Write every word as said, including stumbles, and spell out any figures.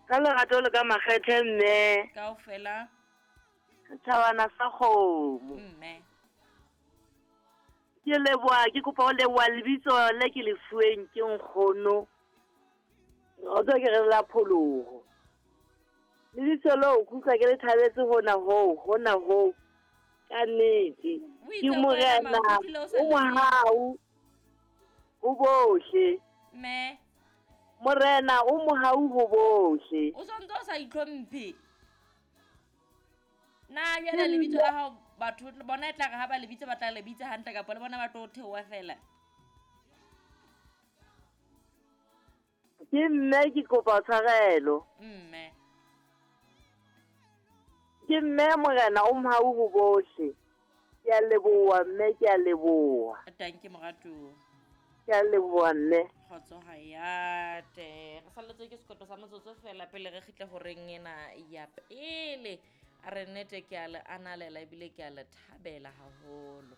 Ka lerato le ka makgethe mme. Kaofela. Setjhabana sa kgomo. Mme. Ke leboha, ke kopa ho leboha lebitso le ke le fuweng ke nkgono. Re ke re la pholoho. Lebitso leo ke utlwa ke le thabetse hona hoo, hona hoo. Ka nnete. O itse Ke ko wena, morena, ma, o utlwile o sa o mohau ho bohle. Mme. Morena o mohau ho bohle. O sontso o sa itlhomphe. Na jwale lebitso la hao batho bona e tla re ha ba lebitsa ba tla le bitsa hantle kapa le bona ba tlo theoha fela? Ke mme ke kopa tshwarelo. Mme. Ke mme morena o mohau ho bohle. Ke a leboha mme, ke a leboha. Tanki moratuwa. Ke a leboha mme. Kgotso hayate. Re salletswe ke sekoto sa motsotso fela pele re kgitle horeng ena ya pele. A re nnete ke a le analela ebile ke a le thabela haholo.